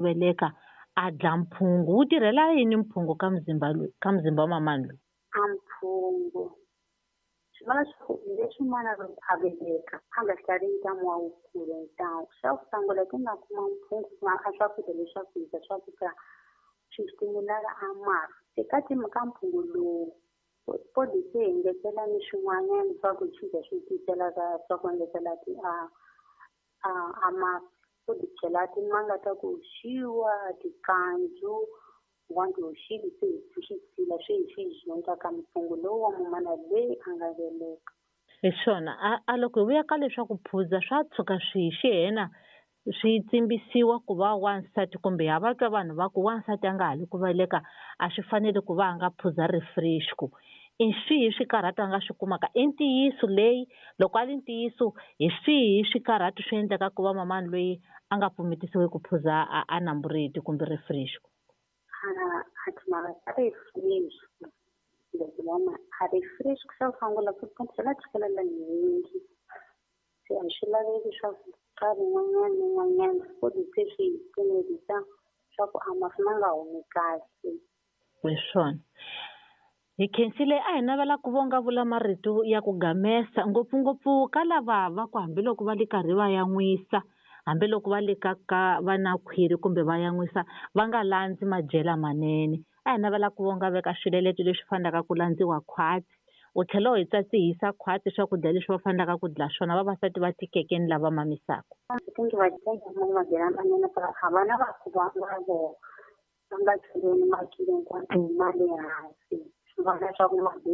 Veleka a dla mphungu wu tirhela yini mphungu ka mzimba loyi ka mzimba wa mamani loyi? A mphungu swi vula leswaku leswi n'wana loko a veleka a nga hlavi ntamu wa wukulu ntamu xa ku sungula ti nga kuma mphungu ku nga a swakudya leswaku hi dya swakudya swi stimulaka a mafi se ka ka mphungu lowu body se hi ngetela ni swin'wanyana swa ku swi dya swi tiselaka swa ku engetela ti a a a mafi u ti chela timanga ta ku oxiwa tikandzu want hoxile se hi swi tshila swi hi swi dyondza ka mphungu lowu wa mumana loyi a nga veleka. Hi swona a a loko hi vuya ka leswaku phuza swa tshuka swi hi xihena swi tsimbisiwa ku va wansati kumbe ha va twa vanhu va ku wansati a nga ha li ku veleka a swi fanele ku va a nga phuza refresco i swihi swikarhato a nga swi kumaka i ntiyiso leyi loko a li ntiyiso hi swihi swikarhato swi endlaka ku va mamani loyi a nga pfumetisiwi ku phuza a a nambureti kumbe refresco? A timhaka ta refresco loko vama a refresco xa ku sungula ku tlhela chukele nyingi se a swi laveki swa ku nkarhi wun'wanyana ni wun'wanyana futhi se swi hi pfumelisa swa ku a mafi ma nga humi kahle. Hi swona hi khensile a hi navela ku vonga vula marito ya ku gamesa ngopfungopfu ka lava va ku hambiloko va le karhi va yan'wisa hambiloko va le ka ka va na khwiri kumbe va yan'wisa va nga landzi madyela manene a hi navela ku vonga veka swileleto leswi fanelaka ku landziwa khwatsi u tlhela u hi tsatsihisa khwatsi swakudya leswi va fanelaka ku dla swona vavasati va tikeke ni lava mamisaka. I think va madyela manene a vana va ku va va vona va nga cheleni makilo hinkwato ma le hansi swi vona leswaku ma be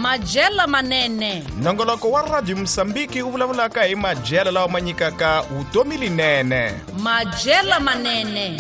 Majela manene. Nongoloko wa Radio Mosambiki wu vulavulaka hi madyelo lawa ma nyikaka vutomi linene. Majela manene.